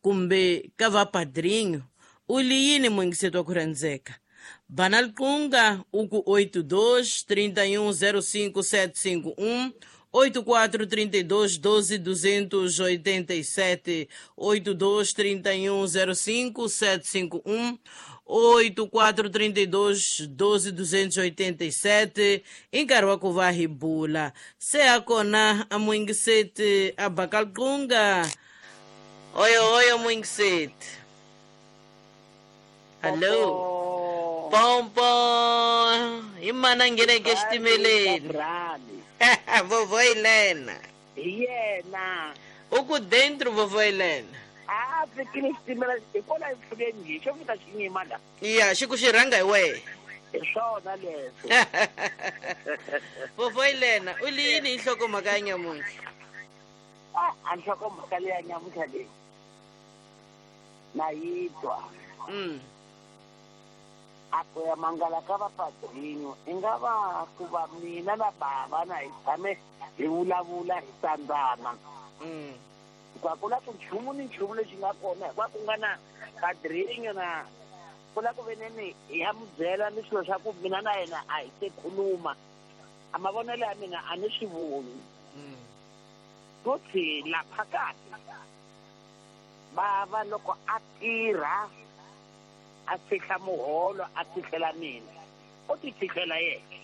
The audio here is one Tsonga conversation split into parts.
Kumbe ka va padrinho u li yini muyingiseti wa ku rhandzeka? Bana liqunga uku 82 31 05 751 84 32 12 287 82 31 05 751 84 32 12 287 i nkarhi wa ku va hi bula. Se a kona a muyingiseti a baka liqunga. Oyo oyo muyingiseti. Hallo. Pompo hi mana ngheneke exitimeleni. Vovó Helena. Hi yena. U ku dentro, vovó Helena. A fikile xitimela hikwalaho mpfhukeni nje xo fika xi nyima la. Ya, xi ku xi rhanga hi wehe. Hi swona leswo. Vovó Helena, u li yini hi nhlokomhaka ya nyamuntlha? A nhlokomhaka leya nyamuntlha leyi na yi twa. A ku ya mangala ka vapadrinho i nga va ku va mina na bava na hi tshame hi vulavula hi tsandzana. Hikuva ku na ku nchumu ni nchumu lexi nga kona hikuva ku nga na padrinho na ku la ku veneni hi ya mu byela ni swilo swa ku mina na yena a hi se khuluma. A mavonelo ya mina a ni swi voni. Futhi lapha kahle bava loko a tirha a fihla muholo a fihlela mina u ti fihlela yena.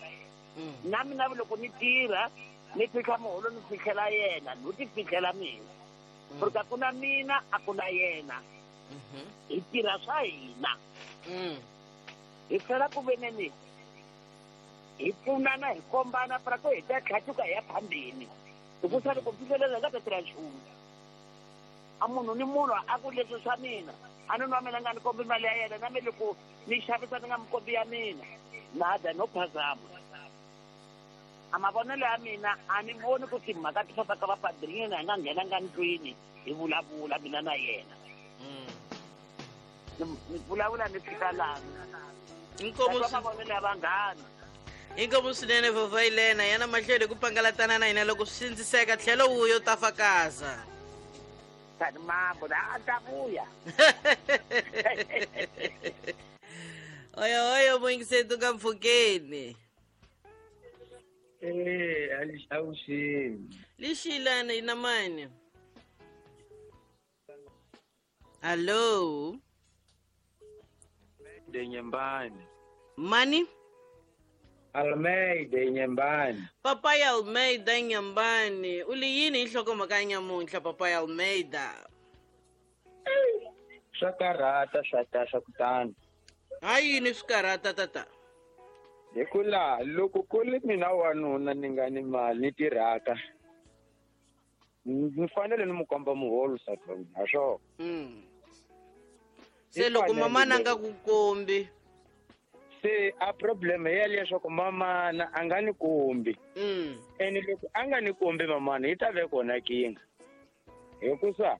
Na mina loko ni tirha ni fihla muholo ni fihlela yena no ti fihlela mina. Porque a ku na mina a ku na yena. Hi tirha swa hina. Hi tlhela ku veneni hi pfunana hi kombana para ku hi ta tlhatuka hi ya phambeni. Hikusa loko fihlelela hi nga ta tirha nchumu. A munhu ni munhu a ku leswi swa mina a ni nwa mina nga ni kombi mali ya yena na me loko ni xavisa ni nga mi kombi ya mina nada no phazama. A mavonelo ya mina a ni voni ku timhaka ti famba ka vapadrinho hi nga nghenanga ndlwini hi vulavula mina na yena. Ni vulavula ni fika lani. Inkomo mavonelo ya vanghana. Inkomo swinene vovó Helena, yana mahlweni ku pangalatana na hina loko swi sindziseka tlhelo wuyo ta fakaza. Tani mambo la a ta vuya. Oyo oyo muyingiseti ka mpfhukeni. Avuxeni. Lixilana ina mani? Hallo. De Nyembani. Mani? Almeida Nyembani. Papai Almeida Nyembani. U li yini hi nhlokomhaka ya nyamuntlha Papai Almeida? Swa karhata swa ta swa kutani. Ha yini swi karhata tata? Hi ku laha loko ku ri mina wanuna ni nga ni mali ni tirhaka ni fanele ni mu komba muholo nsati wa mina, ha swona. Se loko mamana a nga ku kombi. Se a problem ya leswaku mamana a nga ni kombi. Ene loko a nga ni kombi mamana yi ta ve kona kinga. Hikusa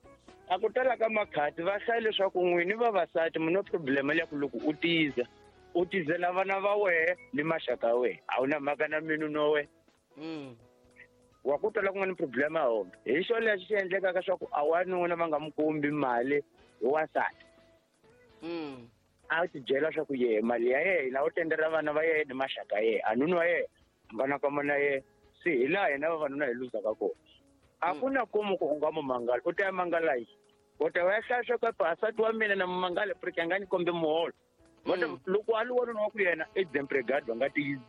a ku tala ka makhati va hlaya leswaku n'wini vavasati mi no problem ya ku loko u tiza u tizela vana va wehe ni maxaka ya wehe a wu na mhaka na minu no wehe. Wa ku tala ku nga ni problem ya hona. Hi xo lexi xi endlekaka swa ku a wanuna va nga mu kombi mali hi wansati. A ti byela swa ku yehe mali ya yena u tendela vana va yena ni maxaka ya yena a nuna wa yena a nga na kama na yena. Se hi laha hina vavanuna hi luzaka kona. A ku na komu ku u nga mu mangala u ta ya mangala yini? U ta ya hlaya swa ku nsati wa mina na mu mangala porque a nga ni kombi muholo. Va ta loko a li wanuna wa ku yena i desempregado a nga tiyisi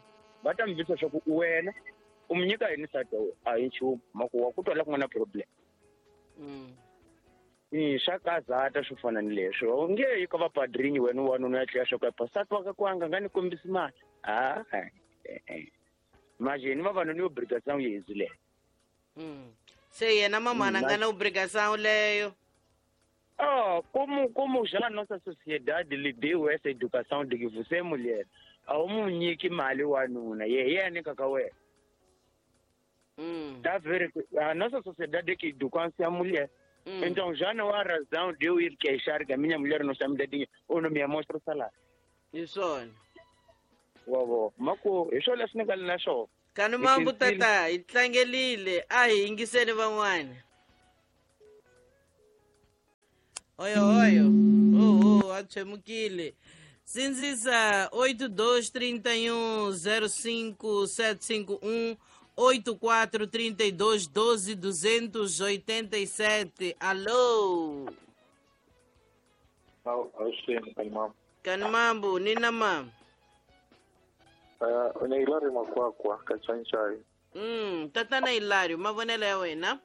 va ta mi visa swa ku wena u mi nyika yini nsati wa wena? A hi nchumu mhaka wa ku twa la ku nga na problem. Swa kazata swo fana ni leswo u nge yi ka vapadrinho wena wanuna ya tlhela swa ku nsati wa ka ku anga nga ni kombisi mali. Manje ni vavanuna yo obrigação yezi leyo. Se yena mamana nga na obrigação leyo. Como já nossa sociedade lhe deu essa educação de que você é mulher, a wu nyiki mali wanuna ye hi yena nyikaka wena. Tá ver a nossa sociedade que educa a mulher. Então já não há razão de eu ir queixar que a minha mulher não está me dando dinheiro ou não me mostra o salário. Hi swona. Wa mako hi swona leswi ni nga na swona. Kani mambu tata hi tlangelile a hi yingiseni van'wana. Oyo oyo. Oh, a tshwemukile. Sindzisa 82 31 05 751 84 32 12 287. Alô. Avuxeni Kanimambu. Kanimambu, nina ma. Ni Hilario Makwakwa ka Chanchai. Tatana Hilario, mavonelo ya wena?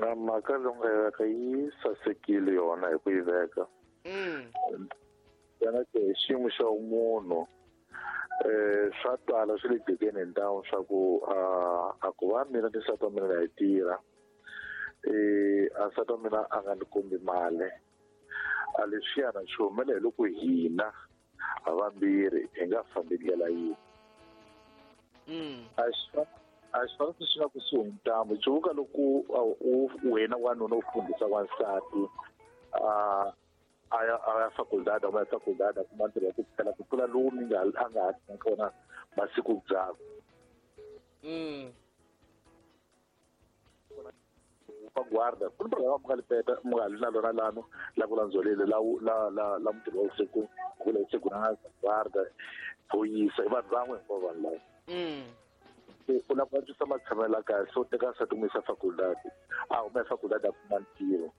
Mhaka leyi nga yi veka yi sasekile yona hi ku yi veka. Yona ke hi xiyimo xa munhu swa twala swi le jikeni hi ntamu swa ku a ku va mina ni nsati wa mina na yi tirha. A nsati wa mina a nga ni kombi mali. A leswiyana swi humela hi loko hina havambirhi hi nga fambi ndlela yin'we. A swi fanele swi nga kusuhi ntambu cuvuka loko wena wanuna u fundisa wansati a ya faculdade a ya faculdade a kuma ntirho wa ku phela ku tlula lowu mi nga a nga ha kona masiku ndzhaku. Pa guarda ku ni programa mi nga li peta mi nga li na lona lano la ku landzolele la la la la mutirhi wa vusiku ku la vusiku na guarda phoyisa i vanhu van'we hinkwavo vanhu lava. U lava ku antswisa matshamelo ya kahle so teka nsati n'wi yisa faculdade a huma faculdade a kuma ntirho.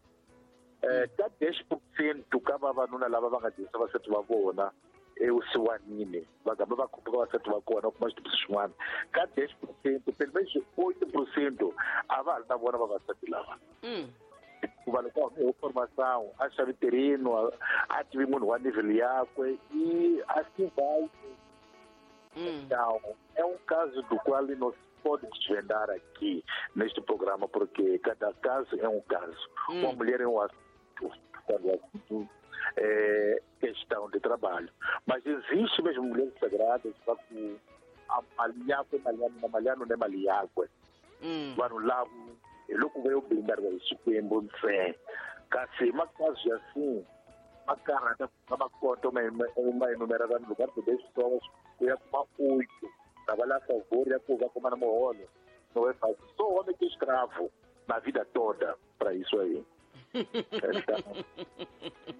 Ka 10% ka vavanuna lava va nga dyondzisa vasati va vona evusiwanini va gamba va khumbuka vasati va kona u kuma xitibiso xin'wana ka 10% pele 8% a va ha ri na vona vavasati lava. Hikuva loko a hume hi formação a xavi terreno a tivi munhu wa nível yakwe i a se vai. Então, é um caso do qual não se pode desvendar aqui neste programa, porque cada caso é um caso. Uma mulher é um assunto, quando o assunto é questão de trabalho. Mas existe mesmo mulheres sagradas que maliakwe vanhu lavo hi loko va yo blindariwa hi Xikwembu ntsena. Kasi makazi assim ma karhata ma kota ma enumera vanhu loko va ri leswitsongo ku ya kuma 8 trabalhar a favor ya ku va kuma na muholo não é fácil. Só o homem que é escravo na vida toda para isso aí. Então,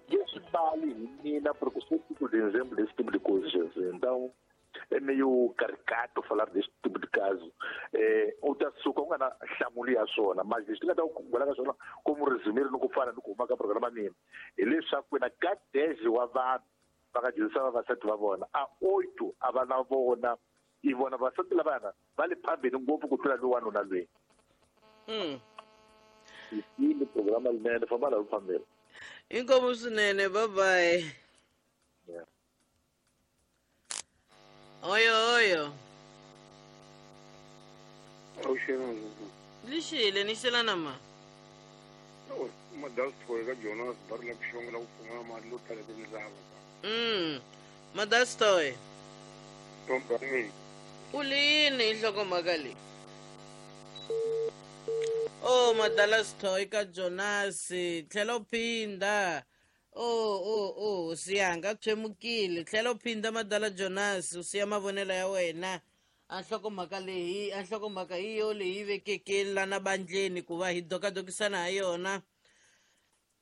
isso vale menina, porque eu sou tipo de exemplo desse tipo de coisa, Jesus. Então, é meio caricato falar desse tipo de caso. O da suca, uma hlamuli ya swona, mas lexi nga ta ku ka swona como resumir no ku fana ni ku huma ka programa mina hileswaku na ka 10 wa vanhu va nga dyondzisa vavasati va vona a 8 a va na vona i vona vasati lavana va le phambeni ngopfu ku tlula lowu wanuna loyi. Yini programa linene famba laha phambeni. Inkomu swinene, bye bye. Yeah. Oyo oyo. Lixile ni xelana ma. Madastoy ka Jonas bar la ku xonga la ku pfumala mali lo tala tindzava. Madastoy. U lini hi nhlokomhaka leyi? Oh, Madalastoy ka Jonas, tlhela u phinda. Oh, siyanga tshwemukile. Tlhela u phinda Madala Jonas, u siya mavonelo ya wena. A nhlokomhaka leyi, a nhlokomhaka hi yo leyi vekeke lana bandleni ku va hi dokadokisana ha yona.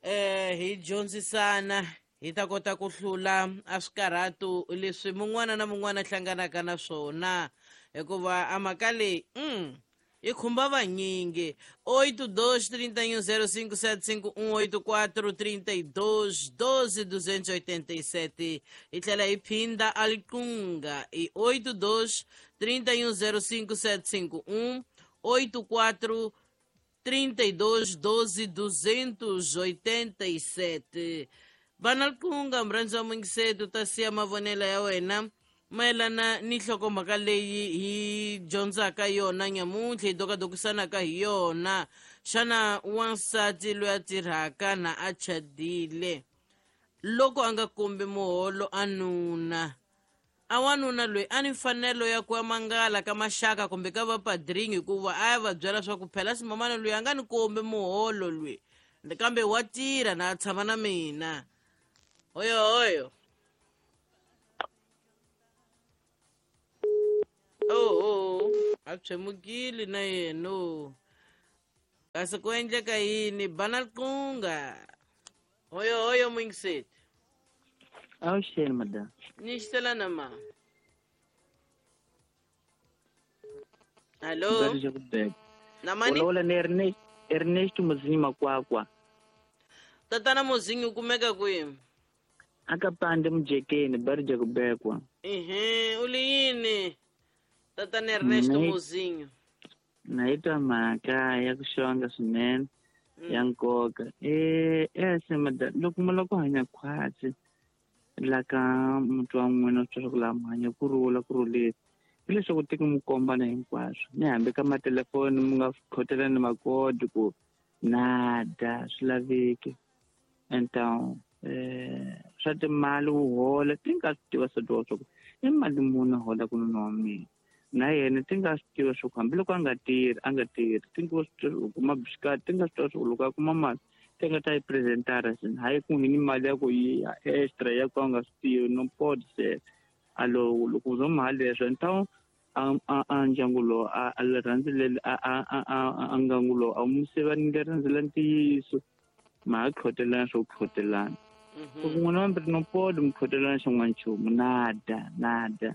Hi dyondzisana hi ta kota ku hlula a swikarhatu leswi mun'wana na mun'wana hlanganaka na swona hikuva a mhaka leyi yi khumba vanyingi. 8 2 31 05 751 84 32 12 287. Hi tlhela hi phinda aliqunga i 8 2 31 05 751 84 32 12 287. Vana liqunga murhandzi wa mungiseto ta siya mavonelo ya wena mayelana ni nhlokomhaka leyi hi dyondzaka yona nyamuntlha hi dokadokisanaka hi yona. Xana wansati loyi a tirhaka na a chadile loko a nga kombi muholo a nuna a wanuna loyi a ni mfanelo ya ku ya mangala ka maxaka kumbe ka vapadringi hikuva a ya va byela swa ku phela ximamana loyi a nga ni kombi muholo loyi kambe wa tirha na a tshama na mina. Oyo oyo. Oh, a tshwemukile na yena. Kasi ku endleka yini banalqunga hoyo hoyo mwingiseti. Avuxeni madam. Ni xitela na ma. Allo. Na mani? Vulavula ni Ernesto Muzinyi Makwakwa. Tatana Muzinyi u kumeka kwihi? Aka pande mujekeni bari kubekwa. Ehe, uli yini? Tatana Ernesto Muzinyi. Naitwa mhaka ya ku xonga swinene ya nkoka. Ese madam, loko mi lava ku hanya khwatsi la ka muti wa n'wina swi twa ku laha mi hanya ku rhula ku rhulile hi leswaku tiki mi kombana hinkwaswo ni hambi ka matelefoni mi nga khotelani makodi ku nada swi laveki enta swa timali wu hola ti nga swi tiva swa swa ku i mali muni a holaka nuna wa mina na yena ti nga swi tiva swa ku hambiloko a nga tirhi ti nga swi tiva kuma bisikati ti nga swi tiva swa ku loko a kuma mali ti nga ta yi presentara swini hayi ku ngheni mali ya ku yi extra ya ku a nga swi tivi no pod se alo loko u zo mali leswo ntawu a ndyangu lowu a rhandzile a ngangu lowu a mu sivanile rhandzela ntiyiso ma ha khotelana swo khotelana loko n'wina vambirhi no pod mi khotelana xin'wana nchumu nada nada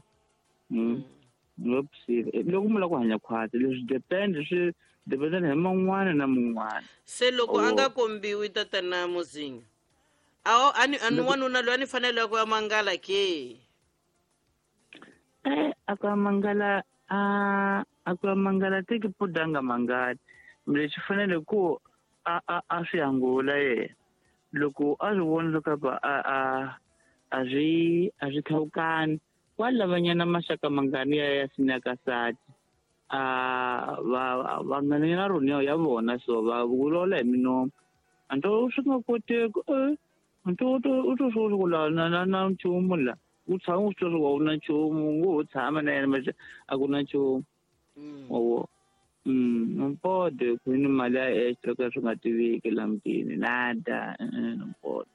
loko mi lava ku hanya khwatsi leswi depend swi dependana hi man'wana na mun'wana se loko a nga kombiwi tatana Muzinyi awo ani wanuna loyi a ni fanele ku ya mangala ke a ku ya mangala a ku ya mangala tiki pudanga mangala lexi fanele ku a swi angula yena loko a swi vona leswaku a swi khawukani wa lavanyana maxaka mangani ya sinyakasati a va ngana rona ya vona so va vulola hi minomo anto swi nga koteki anto u to swo ku la na nchumu la u tshama u swi twa swa ku na nchumu ngo ho tshama na yena maxe a ku na nchumu owo mpode ku ni mali ya extra ka swi nga tiveki la mutini nada mpode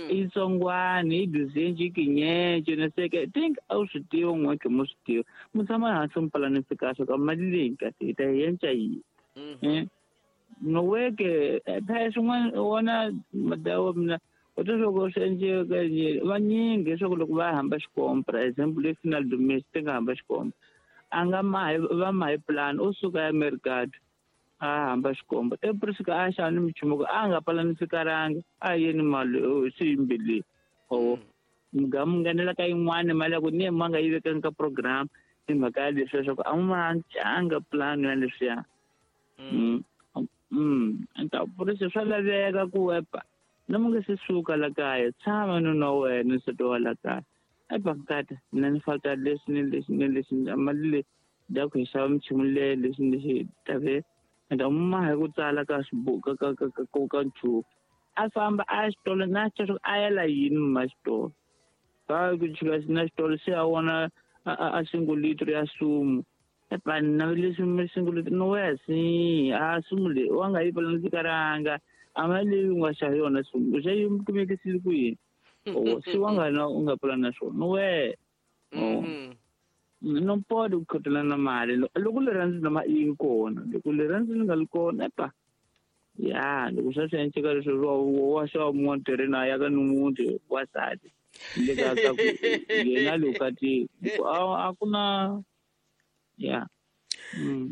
i tsongwani i duzenji i kinyece na seke think a wu swi tiva n'we khe mo swi tiva mu tshama hansi mi palanisi kahle ka mali leyi kahle hi ta yi yenca yini no weke phela swin'wana wona madawa mina u twa swa ku swi endleka vanyingi leswaku loko va hamba xikompra example le final domestic ti nga hamba xikompra a nga mahi va mahi plan u suka ya mercado a hamba xikomba ePrisika a xava ni michumu ku a nga palanisikaranga a yeni mali swi yimbili o mugamu nghenela ka yin'wana mali ya ku ni ma nga yi vekanga ka program hi mhaka ya leswi leswaku a ma canga plan ya leswiya ta purisi swa laveka ku epa na mu nga se suka la kaya tshama nuna wa wena nsati wa la kaya epa nkata mina ni falta leswi ni leswi ni leswi mali leyi da ku hi xava michumu leyi leswi ni leswi tave enda ma hi ku tsala ka swibuku ka nchumu a famba a xitolo na xitolo a yela yini ma xitolo va ku chika na xitolo se a vona a single liter ya sumu epa na leswi single liter no wesi a sumu leyi wa nga yi palanisikaranga a mali leyi u nga xava yona sumu u xa yi kumekisile ku yini o si wa nga na u nga pulana swona no we no pode ku khotelana mali loko rirhandzu nama yi kona loko rirhandzu li nga li kona epa ya loko swa swi enceka leswi wa xava mun'wana tirheni a ya ka ni wasati le ka ka ku yena lokati a ku na ya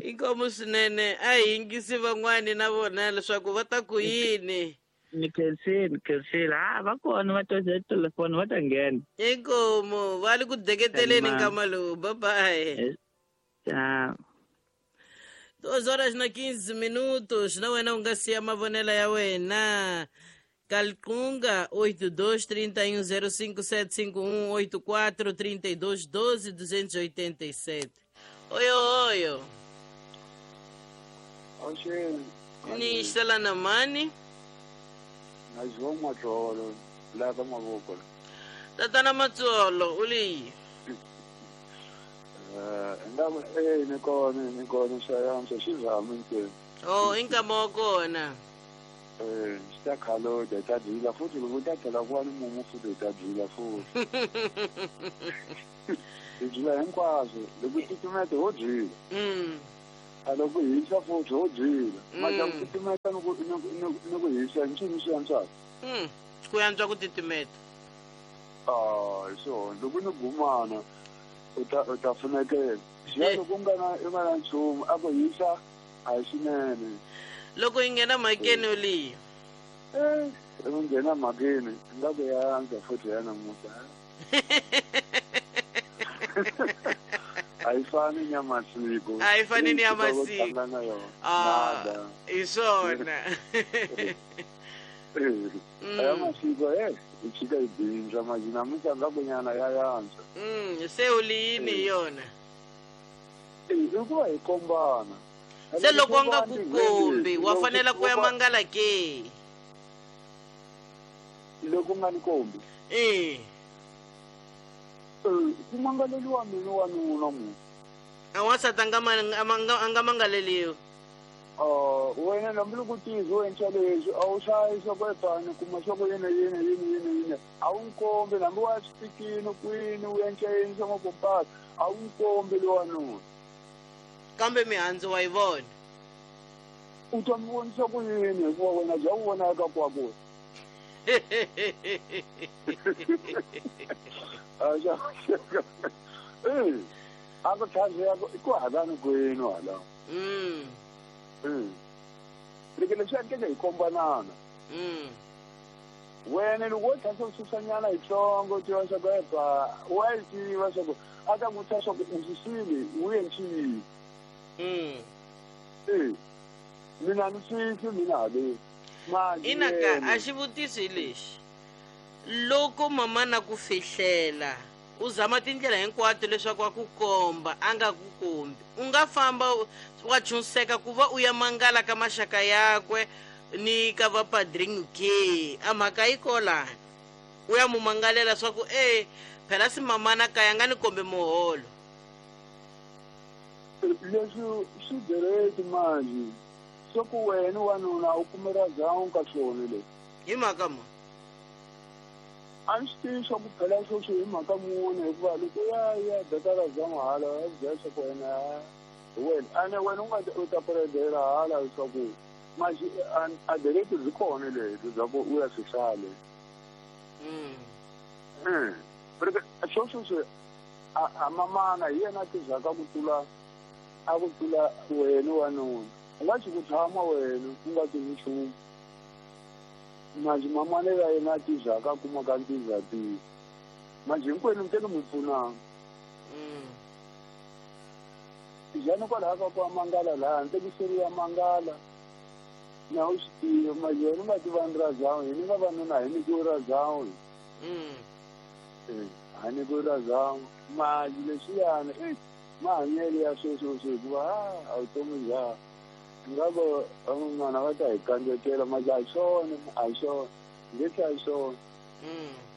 inkomu swinene a hi yingisi van'wani na vona leswaku va ta ku yini ni khensile ha va kona va tosa telefoni va ta nghena inkomu va le ku deketeleni nkama lowu bye bye. Tchau. 2 horas na 15 minutos na wena u nga siya mavonelo ya wena Calcunga 82 31 05 751 84 32 12 287. Oyo oyo. Oxeni. Ni xela na mani? Na João Matsolo, la ka mavoko. Tatana Matsolo, u leyi? Ndaba ni kona xayamsa xizama ntsena. Oh, inkama wa kona. Xi ta khaloda ta dyila futhi loko ta tlhela ku va ni mumu futhi ta dyila futhi. Hi dyila hinkwaswo loko titimete ho dyila. A loko hisa futhi ho byila. Mara ku titimeta ni ku hisa nchumu swi antswaka. Ku antswa ku titimeta. Ah, so loko ni gumana u ta pfunekela. Xiya loko u nga na nchumu a ku hisa a hi swinene. Loko yi nghena mhakeni leyi. Loko nghena mhakeni nga ku ya antswa futhi ya namuntlha. A yi fani ni ya masiku. A yi fani ni ya masiku. Ah, hi swona. Ya masiku yi chika yi bindza manje namuntlha nga ku nyana ya antswa. Se u liyini hi yona? I ku va hi kombana. Se loko a nga ku kombi wa fanela ku ya mangala ke? Loko nga ni kombi? Ku mangaleliwa mina wanuna munhu. A wansati a nga mangaleliwi. Wena hambiloko tizi u endla leswi a wu hlayi swa ku epani kuma swa ku yini yini yini yini yini a wu nkombi hambi wa swipikini kwini u endla yini swa makompasi a wu nkombi lowanuna. Kambe mihandzu wa yi vona. U ta mi vonisa ku yini hikuva wena bya wu vonaka kwaku. A ku tlhandziya ku halani kwenu hala. Loko leswi endleke hi kombanana. Wena loko wo tlhansa u susanyana yitsongo u tiva swa ku epa wa yi tiva swa ku a ta ku vutisa swa ku u susile u endli yini. Mina ni swisi mina haleni. Ina ka a xivutiso hi lexi. Loko mama na ku fihlela u zama tindlela hinkwato leswaku a ku komba a nga ku kombi u nga famba wa chunseka ku va u ya mangala ka maxaka yakwe ni ka vapadrinho ke a mhaka yi kolani u ya mu mangalela swa ku phela si mamana kaya nga ni kombe muholo. Leswi swi direct manje swa ku wena wanuna u kumela ndhawu ka swona leswi. Hi mhaka ma? A ni swi tivi swa ku phela sweswi hi mhaka muni hikuva loko ya beka zamu hala ya byela swa ku wena hi wena ene wena u nga u ta puredela hala leswaku manje a direct byi kona lebyi bya ku u ya swi hlaya. Sweswo swi a mamana hi yena a tizaka ku tlula a ku tlula wena wanuna. U nga xi ku tshama wena u nga tivi nchumu. Manje mamana ya yena a tizaka a kumaka ntizatile. Manje hinkwenu mi tele mi pfunana. Njhani kwalaho ka ku mangala laha ni tekiseri ya mangala na u swi tiva manje wena u nga tiva ni ra zawu hini nga vanuna hi nyikiwe ra zawu. A nyikiwe ra zawu manje leswiyani mahanyelo ya sweswo hikuva a vutomi bya nga ku van'wana va ta hi kandzekela manje a hi swona a hi swona nge a hi swona.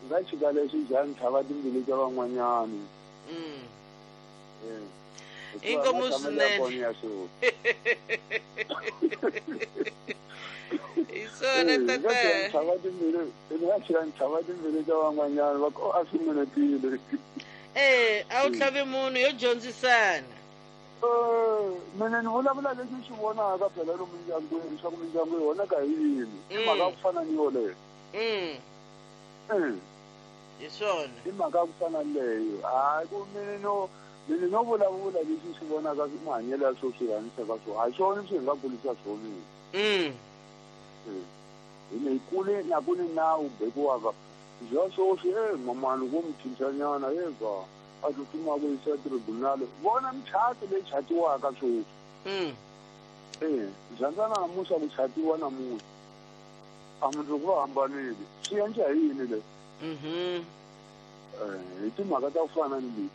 Nga tshika leswi njhani tlhava timbilu ta van'wanyana. Inkomu swinene. Hi swona tata. Tlhava timbilu nga tshika tlhava timbilu ta van'wanyana va ku a swi munetile. A wu tlhavi munhu yo dyondzisana. Mina ni vulavula leswi swi vonaka phela lomu mindyangwini swa ku mindyangu yi vonaka hi yini. I mhaka ku fana ni yoleyo. Hi swona. I mhaka ku fana ni leyo. Hayi ku mina no vulavula leswi swi vonaka mahanyelo ya swo swi hanyisaka swona. A hi swona swi hi nga kulisa swona. Hina hi kule na ku ni nawu bekiwaka bya sweswi mamani vo mi cincanyana va a tsutsuma ku yisa tribunal vona michato leyi chatiwaka sweswi. Rhandzana namuntlha ku chatiwa namuntlha a mundzuku va hambanile swi endla hi yini leswi? Hi timhaka ta ku fana ni leti.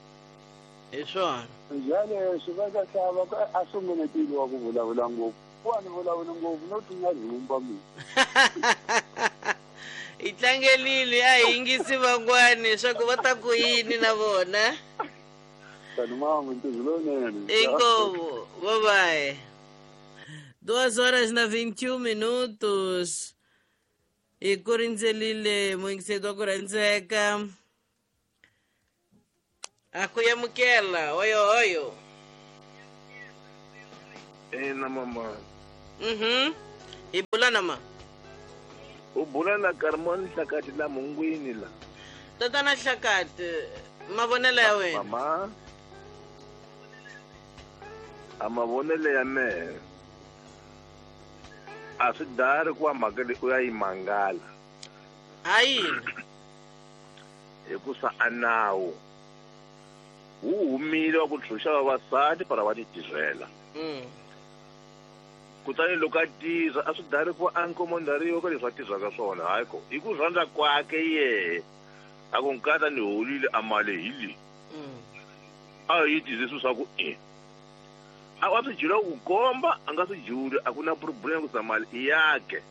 Hi swona. Njhani va ta hlava a sungunetile wa ku vulavula ngopfu. Ku a ni vulavuli ngopfu no tlunya rhumba mina. Hi tlangelile a hi yingisi van'wani swa ku va ta ku yini na vona. Tani mama ntirho lowunene. Inkomu, bye bye. 2:21 Hi ku rindzelile muyingiseri wa ku rhandzeka. A ku yamukela oyo oyo. Ina mama. Hi bula na ma? U bula na Carmon Hlakati la Mungwini la. Tatana Hlakati, mavonelo ya wena. Mama. A mavonelo ya mehe. A swi dari ku va mhaka leyi u ya yi mangala. Ha yini? Hikusa a nawu wu humile wa ku ntshunxa vavasati para va ti tirhela. Kutani loko a tirha a swi dari ku a nkomondariwa ka leswi a tirhaka swona, hayi ko hi ku rhandza kwake yehe a ku nkata ni holile a mali hi leyi. A yi tirhisi swa ku e a wa swi jula ku komba a nga swi juli, a ku na problem ku sa mali i yakhe.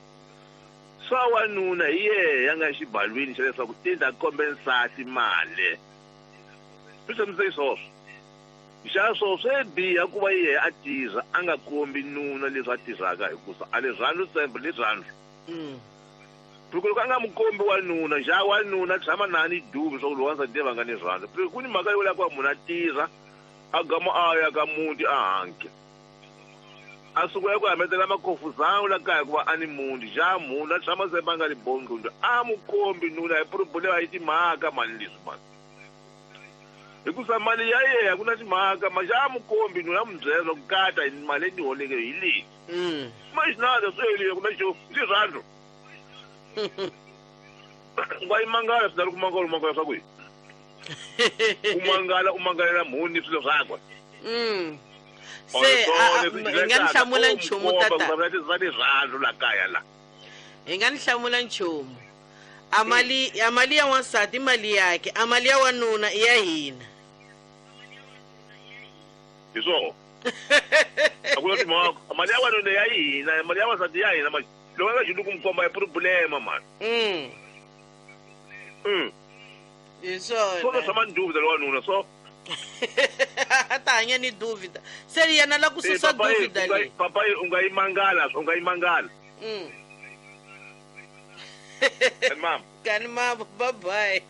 Swa wanuna hi yehe ya nga xibalwini xa leswaku i ta kombe nsati mali. Swi hlamuseki swoswo. Xa swo swi biha ku va yehe a tirha a nga kombi nuna leswi a tirhaka hikusa a le rhandzu sembe le rhandzu. Loko loko a nga mu kombi wanuna, xa wanuna tshama na ni dubi swa ku lowu wansati va nga ni rhandzu. Ku ni mhaka yo la ku va munhu a tirha a gama a ya ka muti a hanke. A suka ya ku hametela makhofuzana la kaya ku va a ni muti, xa munhu a tshama sembe a nga ni bondlundu, a mu kombi nuna hi problem yi timhaka mali leswi mali. Hikusa mali ya yena ku na timhaka, ma xa mu kombi nuna a mu byela ku kata hi mali leyi ni holeke hi leyi. Maxinada swi helile ku na xo, i rirhandzu. Nga yi mangala swi ku mangala, u mangala swa ku yini? U mangala, u mangalela mhuni swilo swakwe. Se hi nga ni hlamula nchumu tata. Va rirhandzu la kaya la. Hi nga ni hlamula nchumu. A mali ya wansati mali yakhe, a mali ya wanuna i ya hina. Hi swona. A ku na timhaka. A mali ya wanuna ya hina, mali ya wansati ya hina mali. Loko a nga juli ku mi komba i problema mani. Hi swona. Swona swa manduvida lo wanuna so. A ta hanya ni duvida. Se yena la ku susa duvida leyi. Papa u nga yi mangala, u nga yi mangala. Mama. Kani mama, bye bye.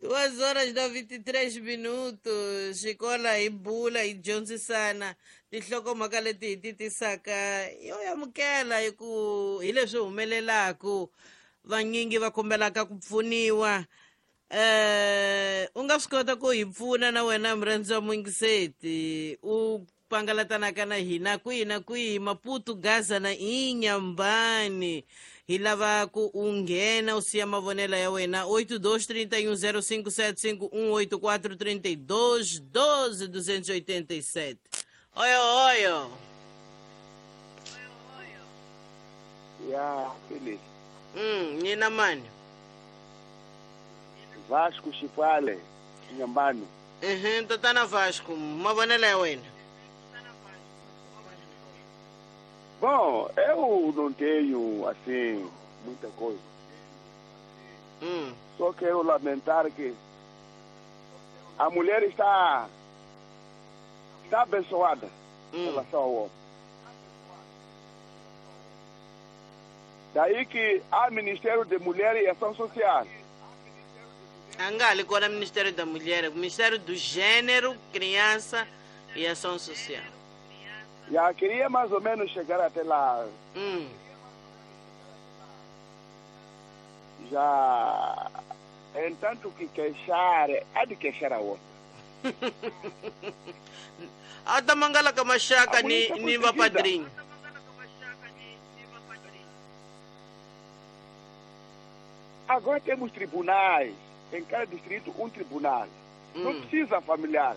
2:23. Xikola hi bula hi dyondzisana tinhlokomhaka leti hi ti tisaka yo amukela hi ku hi leswi humelelaku vanyingi va kombelaka ku pfuniwa. U nga swi kota ku hi pfuna na wena murhandzi wa muyingiseti u pangalatanaka na hina kwihi na kwihi, Maputo, Gaza na Inhambane. Hi lava ku u nghena u siya mavonelo ya wena 82310575 8432 12287. Oyo oyo. Ya, Philip. Nina mani? Vasco Chipale, Inhambane. Tatana Vasco, mavonelo ya wena. Bom, eu não tenho, assim, muita coisa. Só quero lamentar que a mulher está abençoada em relação ao homem. Daí que há Ministério de Mulher e Ação Social. Angali, qual é o Ministério da Mulher? O Ministério do Gênero, Criança e Ação Social. Já queria mais ou menos chegar até lá. Já, entanto que queixar, há de queixar a outra. Ata mangala kamashaka ni vapadrinho. Agora temos tribunais. Em cada distrito, um tribunal. Não precisa familiar.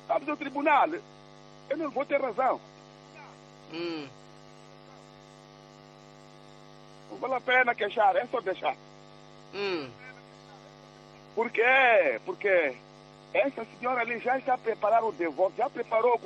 Sabe do tribunal, eu não vou ter razão. Não vale a pena queixar, é só deixar. Por quê? Porque essa senhora ali já está a preparar o divórcio, já preparou.